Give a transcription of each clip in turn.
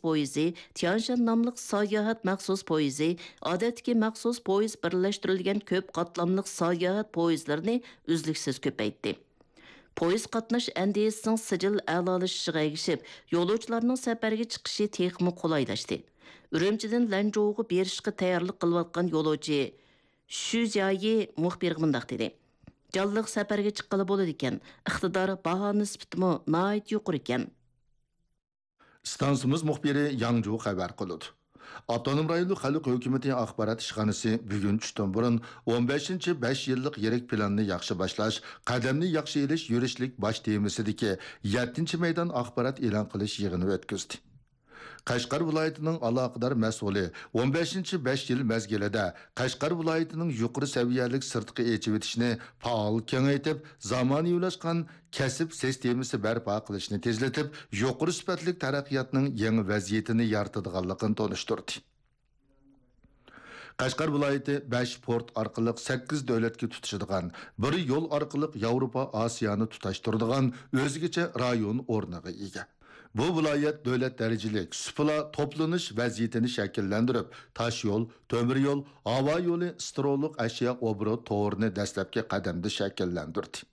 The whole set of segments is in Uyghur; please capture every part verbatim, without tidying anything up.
پويىزى، تيانشان ناملىق ساياھەت مەخسۇس پويىزى، ئادەتتىكى مەخسۇس پويىز بىرلەشتۈرۈلگەن كۆپ قاتلاملىق ساياھەت پويىزلىرىنى ئۈزلۈكسىز كۆپەيتتى. پويىز قاتناش ئەندىزىسىنىڭ سىجىل ئەلالىشىشىغا ئەگىشىپ، يولۇچىلارنىڭ سەپەرگە چىقىشى تېخىمۇ قولايلاشتى. ئۈرۈمچىدىن لەنچۇغا بېرىشقا تەييارلىق قىلىۋاتقان يولۇچى شۈ جيايى مۇخبىرغا مۇنداق دېدى: جانلىق سەپەرگە چىققىلى بولىدىكەن، ئىقتىدار، باھا نىسبىتىمۇ ناھايىتى يۇقىرىكەن. ئىستانسىمىز مۇخبىرى ياڭجۇ خەۋەر قىلىدۇ. ئاپتونوم رايونلۇق خەلق ھۆكۈمىتى ئاخبارات ئىشخانىسى بۈگۈن چۈشتىن بۇرۇن ئون بەشىنچى بەش يىللىق يىرىك پىلاننى ياخشى باشلاش، قەدەمنى ياخشى ئېلىش يۈرۈشلۈك باش تېمىسىدىكى يەتتىنچى مەيدان ئاخبارات ئېلان قىلىش يىغىنى ئۆتكۈزدى. قەشقەر ۋىلايىتىنىڭ ئالاقىدار مەسئۇلى ئون بەشىنچى بەش يىل مەزگىلىدە قەشقەر ۋىلايىتىنىڭ يۇقىرى سەۋىيەلىك سىرتقا ئېچىۋېتىشنى پائال كېڭەيتىپ، زامانىۋىلاشقان كەسىپ سىستېمىسى بەرپا قىلىشنى تېزلىتىپ، يۇقىرى سۈپەتلىك تەرەققىياتنىڭ يېڭى ۋەزىيىتىنى يارىتىدىغانلىقىنى تونۇشتۇردى. قەشقەر ۋىلايىتى بەش پورت ئارقىلىق سەككىز دۆلەتكە تۇتىشىدىغان، بىر يول ئارقىلىق ياۋروپا، ئاسىيانى تۇتاشتۇرىدىغان ئۆزگىچە رايون ئورنىغا ئىگە. بۇ ۋىلايەت دۆلەت دەرىجىلىك سۇپىلار توپلىنىش ۋەزىيىتىنى شەكىللەندۈرۈپ، تاش يول، تۆمۈر يول، ھاۋا يولى، سترولۇق ئەشيا ئوبوروت تورىنى دەسلەپكى قەدەمدە شەكىللەندۈردى.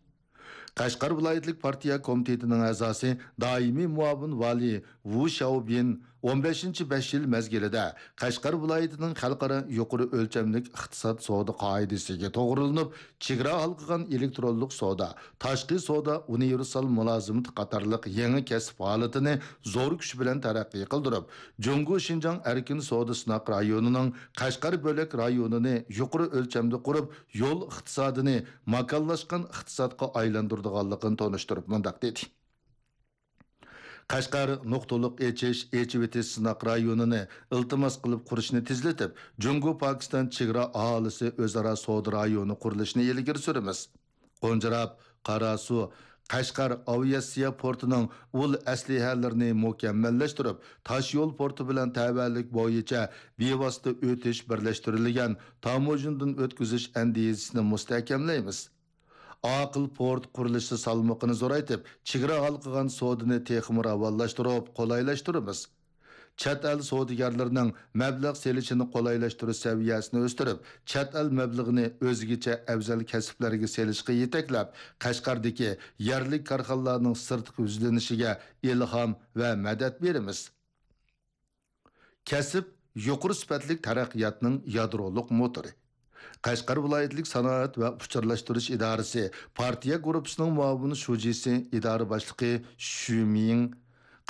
قەشقەر ۋىلايەتلىك پارتىيە كومىتېتىنىڭ ئەزاسى، دائىمىي مۇئاۋىن ۋالىي ۋۇ شياۋبىن ئون بەشىنچى بەش يىل مەزگىلىدە قەشقەر ۋىلايىتىنىڭ خەلقئارا يۇقىرى ئۆلچەملىك ئىقتىساد سودا قائىدىسىگە توغرىلىنىپ، چېگرا ھالقىغان ئېلېكترونلۇق سودا، تاشقى سودا ئۇنىۋېرسال مۇلازىمىتى قاتارلىق يېڭى كەسىپ ھالىتىنى زور كۈچ بىلەن تەرەققىي قىلدۇرۇپ، جۇڭگو شىنجاڭ ئەركىن سودا سىناق رايونىنىڭ قەشقەر بۆلەك رايونىنى يۇقىرى ئۆلچەمدە قۇرۇپ، يول ئىقتىسادىنى ماكانلاشقان ئىقتىسادقا ئايلاندۇرىدىغانلىقىنى تونۇشتۇرۇپ مۇنداق دېدى: قەشقەر نۇقتىلىق ئېچىش، ئېچىۋېتىش سىناق رايونىنى ئىلتىماس قىلىپ قۇرۇشنى تېزلىتىپ، جۇڭگو پاكىستان چېگرا ئاھالىسى ئۆزئارا سودا رايونى قۇرۇلۇشىنى ئىلگىرى سۈرىمىز. قونجىراپ، قاراسۇ، قەشقەر ئاۋىئاتسىيە پورتىنىڭ ئۇل ئەسلىھەلىرىنى مۇكەممەللەشتۈرۈپ، تاشيول پورتى بىلەن تەۋەلىك بويىچە بىۋاسىتە ئۆتۈش بىرلەشتۈرۈلگەن تاموژنىدىن ئۆتكۈزۈش ئەندىزىسىنى مۇستەھكەملەيمىز. ئاقىل پورت قۇرۇلۇشى سالمىقىنى زورايتىپ، چېگرا ھالقىغان سودىنى تېخىمۇ راۋانلاشتۇرۇپ، قولايلاشتۇرىمىز. چەت ئەل سودىگەرلىرىنىڭ مەبلەغ سېلىشىنى قولايلاشتۇرۇش سەۋىيەسىنى ئۆستۈرۈپ، چەت ئەل مەبلىغىنى ئۆزگىچە ئەۋزەل كەسىپلەرگە سېلىشقا يېتەكلەپ، قەشقەردىكى يەرلىك كارخانىلارنىڭ سىرتقا يۈزلىنىشىگە ئىلھام ۋە مەدەت بېرىمىز. كەسىپ يۇقىرى سۈپەتلىك تەرەققىياتنىڭ يادرولۇق موتورى. قەشقەر ۋىلايەتلىك سانائەت ۋە ئۇچۇرلاشتۇرۇش ئىدارىسى پارتىيە گۇرۇپپىسىنىڭ مۇئاۋىن شۇجىسى، ئىدارە باشلىقى شۈ مىڭ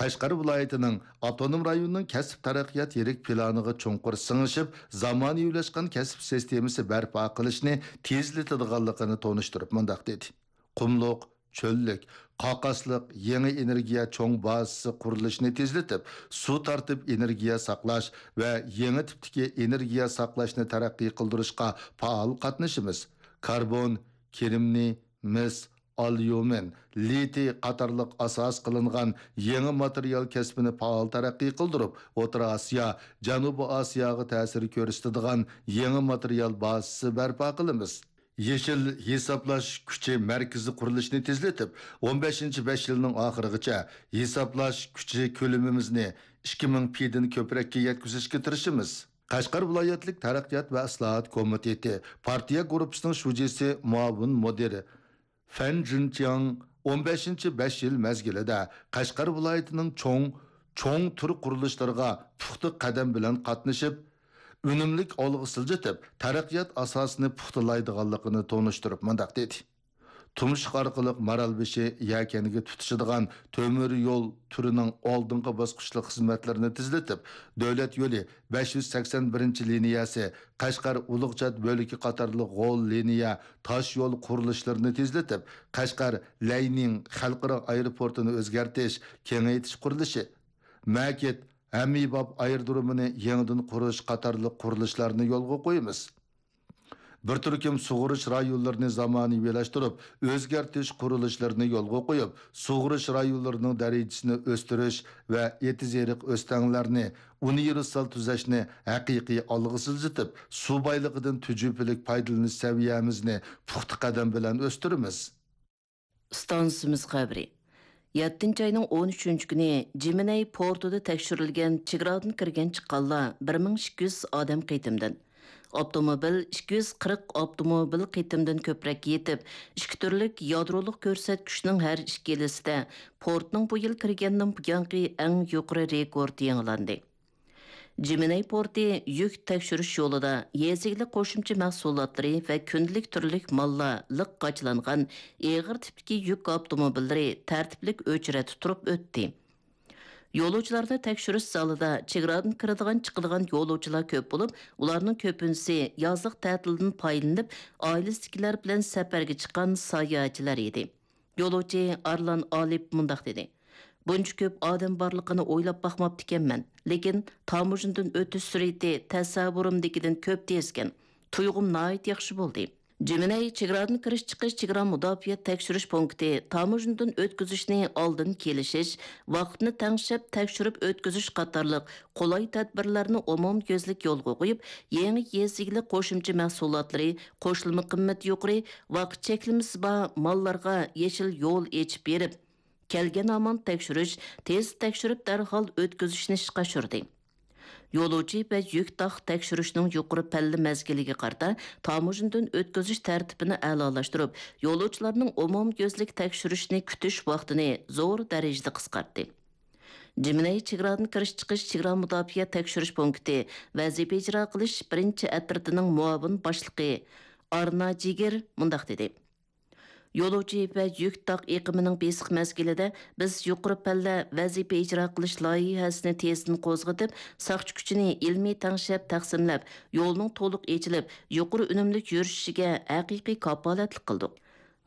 قەشقەر ۋىلايىتىنىڭ ئاپتونوم رايوننىڭ كەسىپ تەرەققىيات يىرىك پىلانىغا چوڭقۇر سىڭىشىپ، زامانىۋىلاشقان كەسىپ سىستېمىسى بەرپا قىلىشنى تېزلىتىدىغانلىقىنى تونۇشتۇرۇپ مۇنداق دېدى: قۇملۇق، چۆللۈك، قاقاسلىق يېڭى ئېنېرگىيە چوڭ بازىسى قۇرۇلۇشىنى تېزلىتىپ، سۇ تارتىپ ئېنېرگىيە ساقلاش ۋە يېڭى تىپتىكى ئېنېرگىيە ساقلاشنى تەرەققىي قىلدۇرۇشقا پائال قاتنىشىمىز. كاربون، كىرېمنىي، مىس، ئاليۇمىن، لىتىي قاتارلىق ئاساس قىلىنغان يېڭى ماتېرىيال كەسپىنى پائال تەرەققىي قىلدۇرۇپ، ئوتتۇرا ئاسىيا، جەنۇبىي ئاسىياغا تەسىر كۆرسىتىدىغان يېڭى ماتېرىيال بازىسى بەرپا قىلىمىز. يېشىل ھېسابلاش كۈچى مەركىزى قۇرۇلۇشىنى تېزلىتىپ، ئون بەشىنچى بەش يىلنىڭ ئاخىرىغىچە ھېسابلاش كۈچى كۆلىمىمىزنى ئىككى مىڭ پىدىن كۆپرەككە يەتكۈزۈشكە تىرىشىمىز. قەشقەر ۋىلايەتلىك تەرەققىيات ۋە ئىسلاھات كومىتېتى پارتىيە گۇرۇپپىسىنىڭ شۇجىسى، مۇئاۋىن مۇدىرى فەن جىنچياڭ ئون بەشىنچى بەش يىل مەزگىلىدە قەشقەر ۋىلايىتىنىڭ چوڭ، چوڭ تۈر قۇرۇلۇشلىرىغا پۇختا قەدەم بىلەن قاتنىشىپ، ئۈنۈملۈك ئالغا سىلجىتىپ، تەرەققىيات ئاساسىنى پۇختىلايدىغانلىقىنى تونۇشتۇرۇپ مۇنداق دېدى: تۇمشۇق ئارقىلىق مارالبېشى يەكەنگە تۇتىشىدىغان تۆمۈر يول تۈرىنىڭ ئالدىنقى باسقۇچلۇق خىزمەتلىرىنى تېزلىتىپ، دۆلەت يولى بەش يۈز سەكسەن بىرىنچى لىنىيەسى قەشقەر ئۇلۇغچات بۆلىكى قاتارلىق غول لىنىيە تاش يول قۇرۇلۇشلىرىنى تېزلىتىپ، قەشقەر لەينىڭ خەلقئارا ئايروپورتىنى ئۆزگەرتىش، كېڭەيتىش قۇرۇلۇشى، مەكىت ھەممىباب ئايرودرومىنى يېڭىدىن قۇرۇش قاتارلىق قۇرۇلۇشلارنى يولغا قويىمىز. بىر تۈركۈم سۇغىرىش رايونلىرىنى زامانىۋىلاشتۇرۇپ، ئۆزگەرتىش قۇرۇلۇشلىرىنى يولغا قويۇپ، سۇغىرىش رايونلىرىنىڭ دەرىجىسىنى ئۆستۈرۈش ۋە ئېتىز-ئېرىق ئۆستەڭلەرنى ئۇنىۋېرسال تۈزەشنى ھەقىقىي ئالغا سىلجىتىپ، سۇ بايلىقىدىن تۈجۈپىلىك پايدىلىنىش سەۋىيەمىزنى پۇختا قەدەم بىلەن ئۆستۈرىمىز. ئىستانسىمىز خەۋىرى. يەتتىنچى ئاينىڭ ئون ئۈچىنچى كۈنى جىمىنەي پورتىدا تەكشۈرۈلگەن چېگرادىن كىرگەن چىققانلار بىر مىڭ ئىككى يۈز ئادەم قېتىمدىن، ئاپتوموبىل ئىككى يۈز قىرىق ئاپتوموبىل قېتىمدىن كۆپرەك يېتىپ، ئىككى تۈرلۈك يادرولۇق كۆرسەتكۈچنىڭ ھەر ئىككىلىسىدە پورتنىڭ بۇ يىل كىرگەندىن بۇيانقى ئەڭ يۇقىرى رېكورت يېڭىلاندى. جىمىنەي پورتى يۈك تەكشۈرۈش يولىدا يېزا ئىگىلىك قوشۇمچە مەھسۇلاتلىرى ۋە كۈندىلىك تۈرلۈك ماللار لىق قاچىلانغان ئېغىر تىپتىكى يۈك ئاپتوموبىللىرى تەرتىپلىك ئۆچرەتتە تۇرۇپ ئۆتتى. يولۇچىلارنى تەكشۈرۈش زالىدا چېگرادىن كىرىدىغان، چىقىدىغان يولۇچىلار كۆپ بولۇپ، ئۇلارنىڭ كۆپىنچىسى يازلىق تەتىلدىن پايدىلىنىپ، ئائىلىسىدىكىلەر بىلەن سەپەرگە چىققان ساياھەتچىلەر ئىدى. يولۇچى ئارلان ئالىپ مۇنداق دېدى: «بۇنچە كۆپ ئادەم بارلىقىنى ئويلاپ باقماپتىكەنمەن، لېكىن تاموژنىدىن ئۆتۈش سۈرئىتى تەسەۋۋۇرۇمدىكىدىن كۆپ تېزكەن. تۇيغۇم ناھايىتى ياخشى بولدى.» جىمىنەي چېگرادىن كىرىش-چىقىش چېگرا مۇداپىئە تەكشۈرۈش پونكىتى تاموژنىدىن ئۆتكۈزۈشنى ئالدىن كېلىشىش، ۋاقىتنى تەڭشەپ تەكشۈرۈپ ئۆتكۈزۈش قاتارلىق قولاي تەدبىرلەرنى ئومۇميۈزلۈك يولغا قويۇپ، يېڭى يېزا ئىگىلىك قوشۇمچە مەھسۇلاتلىرى، قوشۇلما قىممىتى يۇقىرى، ۋاقىت چەكلىمىسى بار ماللارغا يېشىل يول ئېچىپ بېرىپ، كەلگەن ھامان تەكشۈرۈش، تېز تەكشۈرۈپ دەرھال ئۆتكۈزۈشنى ئىشقا ئاشۇردى. يولۇچى ۋە يۈك تاق تەكشۈرۈشنىڭ يۇقىرى پەللە مەزگىلىگە قارىتا تاموژنىدىن ئۆتكۈزۈش تەرتىپىنى ئەلالاشتۇرۇپ، يولۇچىلارنىڭ ئومۇميۈزلۈك تەكشۈرۈشنى كۈتۈش ۋاقتىنى زور دەرىجىدە قىسقارتتى. جىمىنەي چېگرادىن كىرىش-چىقىش چېگرا مۇداپىئە تەكشۈرۈش پونكىتى ۋەزىپە ئىجرا قىلىش بىرىنچى ئەترىتىنىڭ مۇئاۋىن باشلىقى ئارنا جىگىر مۇنداق دېدى: «يولۇچى ۋە يۈك تاق ئېقىمىنىڭ بېسىق مەزگىلىدە بىز يۇقىرى پەللە ۋەزىپە ئىجرا قىلىش لايىھەسىنى تېزدىن قوزغىتىپ، ساقچى كۈچىنى ئىلمىي تەڭشەپ تەقسىملەپ، يولنىڭ تولۇق ئېچىلىپ، يۇقىرى ئۈنۈملۈك يۈرۈشۈشىگە ھەقىقىي كاپالەتلىك قىلدۇق.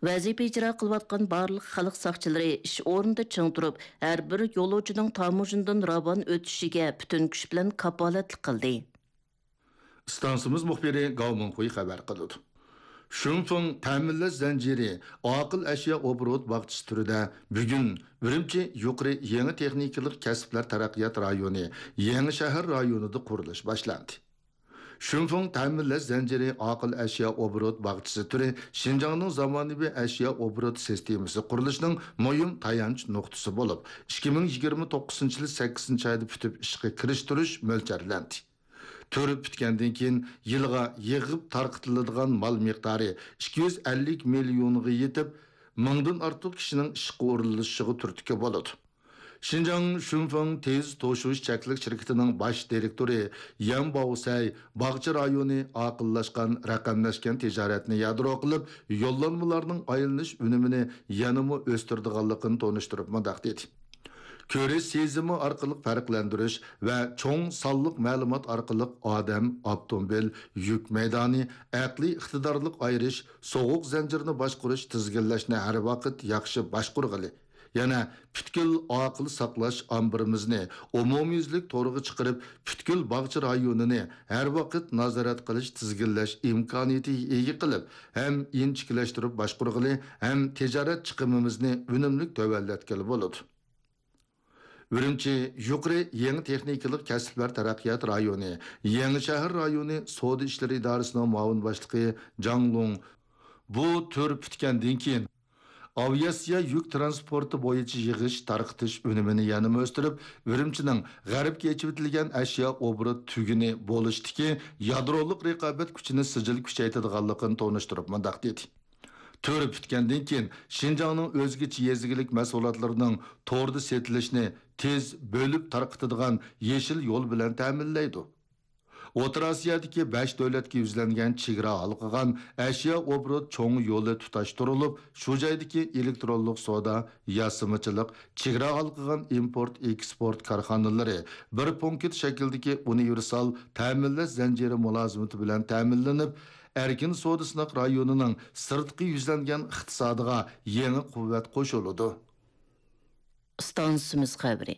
ۋەزىپە ئىجرا قىلىۋاتقان بارلىق خەلق ساقچىلىرى ئىش ئورنىدا چىڭ تۇرۇپ، ھەر بىر يولۇچىنىڭ تاموژنىدىن راۋان ئۆتۈشىگە پۈتۈن كۈچ بىلەن كاپالەتلىك قىلدى.» ئىستانسىمىز مۇخبىرى گاۋ مىڭخۇي خەۋەر قىلىدۇ. شۇنفېڭ تەمىنلەش زەنجىرى ئاقىل ئەشيا ئوبوروت باغچىسى تۈرىدە بۈگۈن ئۈرۈمچى يۇقىرى يېڭى تېخنىكىلىق كەسىپلەر تەرەققىيات رايونى يېڭى شەھەر رايونىدا قۇرۇلۇش باشلاندى. شۇنفېڭ تەمىنلەش زەنجىرى ئاقىل ئەشيا ئوبوروت باغچىسى تۈرى شىنجاڭنىڭ زامانىۋى ئەشيا ئوبوروت سىستېمىسى قۇرۇلۇشىنىڭ مۇھىم تايانچ نۇقتىسى بولۇپ، ئىككى مىڭ يىگىرمە توققۇزىنچى يىلى سەككىزىنچى ئايدا پۈتۈپ ئىشقا كىرىشتۈرۈش مۆلچەرلەندى. تۈر پۈتكەندىن كېيىن يىلغا يىغىپ تارقىتىلىدىغان مال مىقدارى ئىككى يۈز ئەللىك مىليونغا يېتىپ، مىڭدىن ئارتۇق كىشىنىڭ ئىشقا ئورۇنلىشىشىغا تۈرتكە بولىدۇ. شىنجاڭ شۈنفېڭ تېز توشۇش چەكلىك شىركىتىنىڭ باش دىرېكتورى يەن باۋسەي باغچە رايونى ئاقىللاشقان، رەقەملەشكەن تىجارەتنى يادرو قىلىپ، يوللانمىلارنىڭ ئايلىنىش ئۈنۈمىنى يەنىمۇ ئۆستۈرىدىغانلىقىنى تونۇشتۇرۇپ مۇنداق دېدى: «كۆرۈش سېزىمى ئارقىلىق پەرقلەندۈرۈش ۋە چوڭ سانلىق مەلۇمات ئارقىلىق ئادەم، ئاپتوموبىل، يۈك مەيدانى، ئەقلىي ئىقتىدارلىق ئايرىش، سوغۇق زەنجىرىنى باشقۇرۇش، تىزگىنلەشنى ھەر ۋاقىت ياخشى باشقۇرغىلى. يەنە پۈتكۈل ئاقىل ساقلاش ئامبىرىمىزنى ئومۇميۈزلۈك تورغا چىقىرىپ، پۈتكۈل باغچە رايونىنى ھەر ۋاقىت نازارەت قىلىش، تىزگىنلەش ئىمكانىيىتىگە ئىگە قىلىپ، ھەم ئىنچىكىلەشتۈرۈپ باشقۇرغىلى، ھەم تىجارەت چىقىمىمىزنى ئۈنۈملۈك تۆۋەنلەتكىلى بولىدۇ.» ئۈرۈمچى يۇقىرى يېڭى تېخنىكىلىق كەسىپلەر تەرەققىيات رايونى يېڭى شەھەر رايونى سودا ئىشلىرى ئىدارىسىنىڭ مۇئاۋىن باشلىقى جاڭ لۇڭ بۇ تۈر پۈتكەندىن كېيىن، ئاۋىئاتسىيە يۈك تىرانسپورتى بويىچە يىغىش تارقىتىش ئۈنۈمىنى يەنىمۇ ئۆستۈرۈپ، ئۈرۈمچىنىڭ غەربكە ئېچىۋېتىلگەن ئەشيا ئوبوروت تۈگۈنى بولۇشتىكى يادرولۇق رىقابەت كۈچىنى سىجىل كۈچەيتىدىغانلىقىنى تونۇشتۇرۇپ مۇنداق دېدى: «تۈر پۈتكەندىن كېيىن، شىنجاڭنىڭ ئۆزگىچە يېزا ئىگىلىك مەھسۇلاتلىرىنىڭ توردا سېتىلىشىنى تېز بۆلۈپ تارقىتىدىغان يېشىل يول بىلەن تەمىنلەيدۇ.» ئوتتۇرا ئاسىيادىكى بەش دۆلەتكە يۈزلەنگەن چېگرا ھالقىغان ئەشيا ئوبوروت چوڭ يولى تۇتاشتۇرۇلۇپ، شۇ جايدىكى ئېلېكترونلۇق سودا، ياسىمىچىلىق، چېگرا ھالقىغان ئىمپورت، ئېكسپورت كارخانىلىرى بىر پونكىت شەكلىدىكى ئۇنىۋېرسال تەمىنلەش زەنجىرى مۇلازىمىتى بىلەن تەمىنلىنىپ، ئەركىن سودا سىناق رايونىنىڭ سىرتقى يۈزلەنگەن ئىقتىسادىغا يېڭى قۇۋۋەت قوشۇلىدۇ. ئىستانسىمىز خەۋىرى.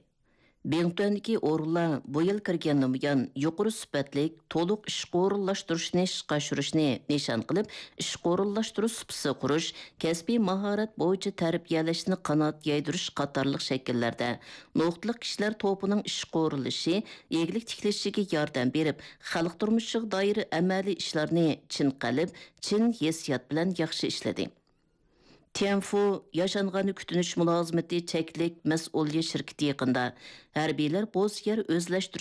بىڭتۈەندىكى ئورۇنلار بۇ يىل كىرگەندىن بۇيان يۇقىرى سۈپەتلىك، تولۇق ئىشقا ئورۇنلاشتۇرۇشنى ئىشقا ئاشۇرۇشنى نىشان قىلىپ، ئىشقا ئورۇنلاشتۇرۇش سۇپىسى قۇرۇش، كەسپىي ماھارەت بويىچە تەربىيەلەشنى قانات يايدۇرۇش قاتارلىق شەكىللەردە نۇقتىلىق كىشىلەر توپىنىڭ ئىشقا ئورۇنلىشىشى، ئىگىلىك تىكلىشىگە ياردەم بېرىپ، خەلق تۇرمۇشىغا دائىر ئەمەلىي ئىشلارنى چىن قەلب، چىن ھېسسىيات بىلەن ياخشى ئىشلىدى. تيەنفۇ ياشانغاننى كۈتۈنۈش مۇلازىمىتى چەكلىك مەسئۇلىيەت شىركىتى يېقىندا ھەربىيلەر بوز يەر ئۆزلەشتۈرۈش